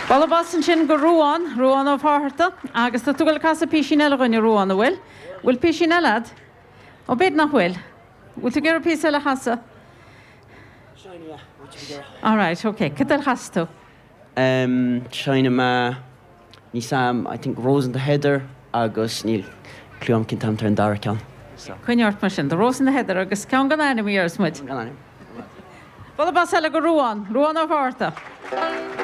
Bualadh bos ansin go Ruán, Ruán Ó Fátharta, agus tá tú ag dul ag casadh písín eile dhúinn, a Ruán, an bhfuil? Bhfuil písín eile a'd? Ó b'fhéidir nach bhfuil. Bhfuil tú ag iarraidh píosa eile a chasadh? Alright, ok. Cad eile a chasfaidh tú? Em, seinnfidh mé, níl 's a'm, I think Rose in the Heather agus níl clue a'm cén t-ainm atá ar an dara ceann, so. Coinnigh ort mar sin, The Rose in the Heather agus ceann gan ainm a dhéarfas muid. Ceann gan ainm. Bualadh bos eile go Ruán, Ruán Ó Fátharta.